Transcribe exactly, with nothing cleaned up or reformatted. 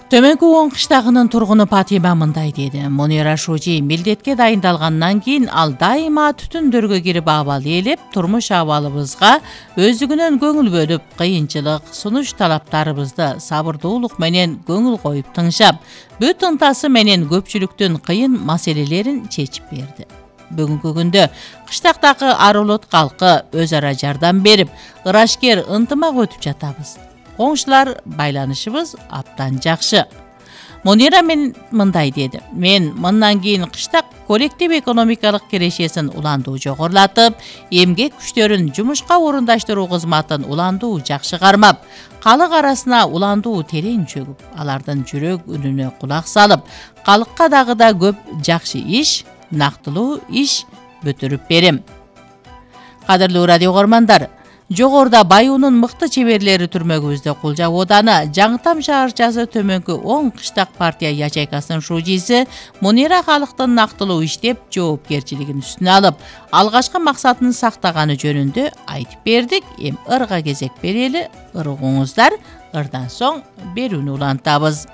Төмөнкү он кыштагынын тургуну Патима мындай деди. Мунира Шужи милдетке дайындалгандан кийин ал дайыма түтүндөргө кирип абал ээлеп, турмуш абалыбызга өздүгүнөн көңүл бөлүп, кыйынчылык, сунуш талаптарыбызды сабырдуулук менен көңүл коюп тыңшап, бүт ынтасы менен көпчүлүктүн кыйын маселелерин чечип берди. Бүгүнкү күндө кыштактагы Арулут калкы өз ара жардам берип, ырашкер ынтымак өтүп жатабыз. Коңшулар байланышыбыз абдан жакшы. Мунира мен мындай деди. Мен мындан кийин кыштак коллектив экономикалык кирешесин уландуу жогорулатып, эмгек күчтөрүн жумушка орундаштыруу кызматын уландуу жакшы кармап, калык арасына уландуу терең чөгүп, алардын жүрөк үнүнө кулак салып, калыкка дагы да көп жакшы иш, нактылуу иш бүтүрүп берем. Кадырлуу радио угармандар, жогоруда Баюунун мыкты чеберлери түрмөгүбүздө Кулжа ооданы Жаңытам шаарчасы Төмөнкү он кыштак партия ячейкасынын шужиси Мунира калктын нактылуу иштеп, жоопкерчилигин үстүнө алып, алгачкы максатын сактаганы жөнүндө айтып бердик. Эми ырга кезек берели. Ыргыңыздар, ырдан соң берүүнү улантабыз.